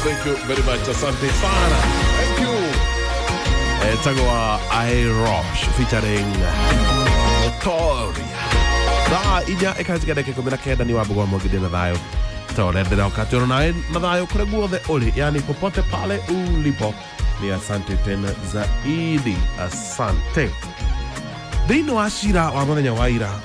Thank you very much. Asante sana. Thank you. Etagwa Irosh featuring Notoria. Thaa 4 ĩkahĩtũka ndagĩka 19. Nĩ wambũgwa mwangithia na thayũ ta ũrĩa ndĩroka atĩ nawe na thayũ kũrĩa guothe ũrĩ, yani popote pale ulipo, ni asante tena zaidi, asante. Thĩinĩ wa cira wa mũthenya wa ira,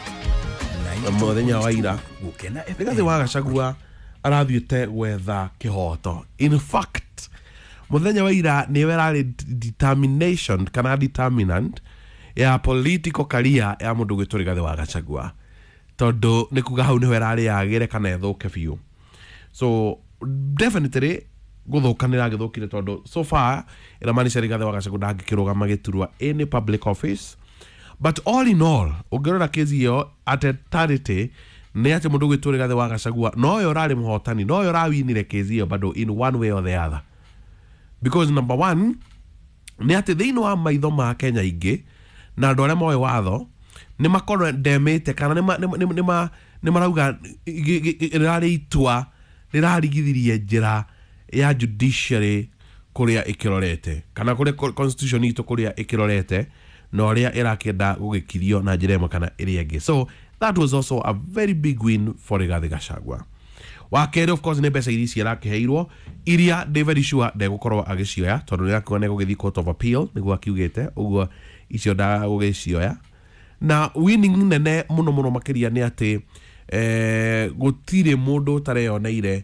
mũthenya wa ira, Gukena. Rigathĩ wa Gachagua arathiĩte gwetha kĩhoto. In fact, mũthenya wa ira nĩwe ĩrarĩ determination kana determinant ya political career ya mũndũ gwĩtwo Rigathĩ wa Gachagua, tondũ nĩ kuga hau nĩho ĩrarĩ yagĩre kana ĩthũke biũ. So definitely gũthũka nĩ ĩragĩthũkire, tondũ so far ĩramaanisha Rigathĩ wa Gachagua ndangĩkĩrũgama gĩturwa any public office. But all in all, ũngĩrora kesi ĩyo at entirety, nĩ atĩ mũndũ gwĩtwo Rigathĩ wa Gachagua noyo ũrarĩ mũhotani, noyo ũrawinire kesi ĩyo bado in one way or the other, because number one nĩ atĩ thĩinĩ wa maitho ma Kenya aingĩ na andũ arĩa moĩ watho nĩ makorwo ndemĩte kana nĩ marauga rĩrarĩ itua rĩrarigithirie njĩra ya judiciary kũrĩa ĩkĩrorete kana kũrĩa constitution itũ kũrĩa ĩkĩrorete na ũrĩa ĩrakĩenda gũgĩkirio na njĩra ĩmwe kana ĩrĩa ĩngĩ. So that was also a very big win for Rigathi Gachagua. Wa kerĩ, of course, nĩ mbeca iria ici arakĩheirwo, iria ndĩ very sure ndegũkorwo agĩcioya, tondũ nĩ akiuga nĩ egũgĩthiĩ court of appeal, nĩguo akiugĩte ũguo, icio ndagũgĩcioya. Na winning nene mũno mũno makĩria nĩ atĩ gũtirĩ mũndũ ũtareyoneire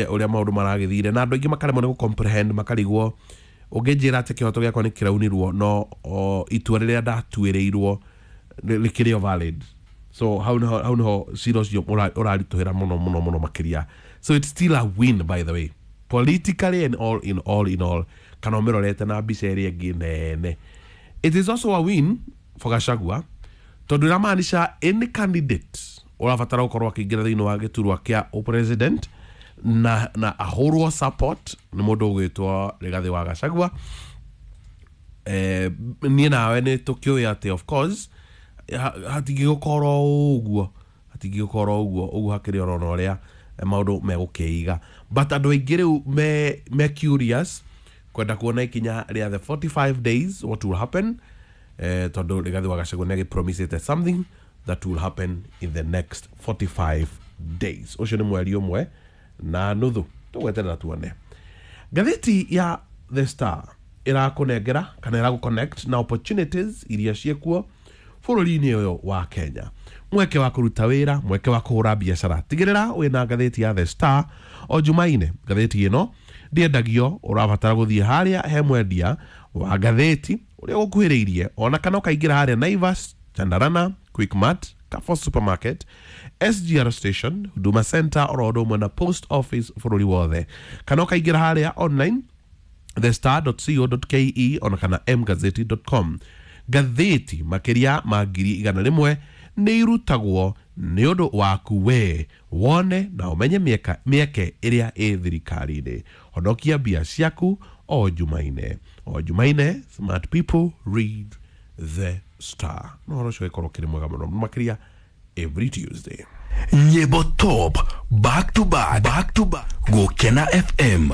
ũrĩa maũndũ maragĩthire, na andũ aingĩ makaremwo nĩ gũcomprehend, makarigwo ũngĩnjĩra atĩ kĩhoto gĩakwa nĩ kĩraunirwo no o, itua rĩrĩa ndatuĩrĩirwo rĩkĩrĩ o valid. So hau nĩho cira ũcio ũraritũhĩra mũno mũno mũno makĩria. So it's still a win, by the way, politically and all in all in all, kana ũmĩrorete na mbica ĩrĩa ĩngĩ nene. It is also a win for Gachagua, tondũ ĩramaanisha any candidate ũrabatara gũkorwo akĩingĩra thĩinĩ wa gĩturwa kĩa president na ahũrwo support nĩ mũndũ ũgwĩtwo Rigathĩ wa Gachagua. Niĩ nawe nĩ tũkĩũĩ atĩ of course hatingĩgũkorwo ũguo, hatingĩgũkorwo ũguo ũguo, hakĩrĩ orona ũrĩa maũndũ megũkĩiga. But andũ aingĩ rĩu me curious kwenda kuona ikinya rĩa the 45 days, what will happen, tondũ Rigathĩ wa Gachagua nĩ agĩpromisĩte something that will happen in the next 45 days. Ũcio nĩ mweri 1.5. Tũgweterera tuone. Ngathĩti ya The Star ĩrakũnengera kana ĩragũ na opportunities iria ciĩkuo bũrũri-inĩ ũyũ wa Kenya, mweke wa kũruta wĩra, mweke wa kũhũra biacara. Tigĩrĩra wĩna ngathĩti ya The Star o Jumaine. Ngathĩti ĩno ndĩendagio, ũrabatara gũthiĩ harĩa he mwendia wa ngathĩti ũrĩa ũgũkuhĩrĩirie, ona kana ũkaingĩra harĩa Naivas, Chandarana, Quickmart, Carrefour Supermarket, SGR Station, Huduma Center, oro ũndũ ũmwe na Post Office bũrũri wothe, kana ũkaingĩra harĩa online thestar.co.ke ona kana mgazeti.com. Ngathĩti makĩria ma 100,000 nĩ irutagwo nĩ ũndũ waku we wone na ũmenye mĩeke ĩrĩa ĩ thirikari-inĩ. Honokia mbia ciaku o Jumaine, o Jumaine. Smart people read The Star. No ũhoro ũcio ũgĩkorwo ũkĩrĩ mwega mũno makĩria every Tuesday. Nyĩmbo top back to back, back to back. Gukena FM.